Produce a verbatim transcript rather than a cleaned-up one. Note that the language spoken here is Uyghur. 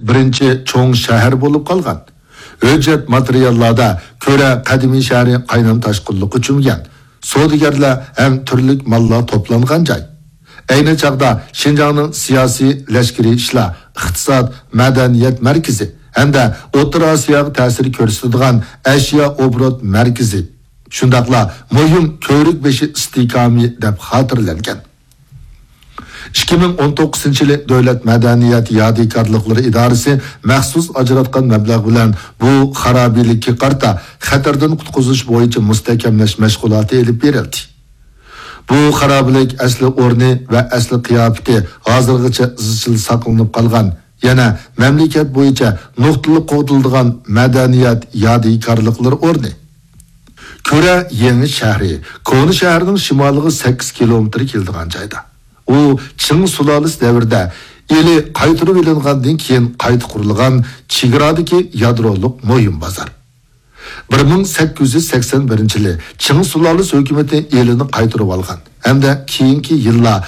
بىرىنچى چوڭ شەھەر بولۇپ قالغان. ھۆججەت ماتېرىياللاردا كۆرە قەدىمىي شەھىرى قاينام تاشقىنلىققا چۆمگەن، سودىگەرلەر ھەم تۈرلۈك ماللار توپلانغان جاي. ئەينى چاغدا شىنجاڭنىڭ سىياسىي، لەشكىرىي ئىشلار، ئىقتىساد، مەدەنىيەت مەركىزى ھەمدە ئوتتۇرا ئاسىياغا تەسىر كۆرسىتىدىغان ئەشيا ئوبوروت مەركىزى، شۇنداقلا مۇھىم كۆۋرۈك بېشى ئىستىھكامى دەپ خاتىرىلەنگەن. ئىككى مىڭ ئون توققۇزىنچى يىلى دۆلەت مەدەنىيەت يادىكارلىقلىرى ئىدارىسى مەخسۇس ئاجراتقان مەبلەغ بىلەن بۇ خارابىلىككە قارىتا خەتەردىن قۇتقۇزۇش بويىچە مۇستەھكەملەش مەشغۇلاتى ئېلىپ بېرىلدى. بۇ خارابىلىك ئەسلى ئورنى ۋە ئەسلى قىياپىتى ھازىرغىچە ئىزچىل ساقلىنىپ قالغان، يەنە مەملىكەت بويىچە نۇقتىلىق قوغدىلىدىغان مەدەنىيەت يادىكارلىقلىرى ئورنى. كۆرە يېڭى شەھىرى كونا شەھەرنىڭ شىمالىغا سەككىز كىلومېتىر كېلىدىغان جايدا. ئۇ چىڭ سۇلالىسى دەۋرىدە ئىلى قايتۇرۇۋېلىنغاندىن كېيىن قايتا قۇرۇلغان چېگرادىكى يادرولۇق مۇھىم بازار. بىر مىڭ سەككىز يۈز سەكسەن بىرىنچى يىلى چىڭ سۇلالىسى ھۆكۈمىتى ئىلىنى قايتۇرۇۋالغان ھەمدە كېيىنكى يىللار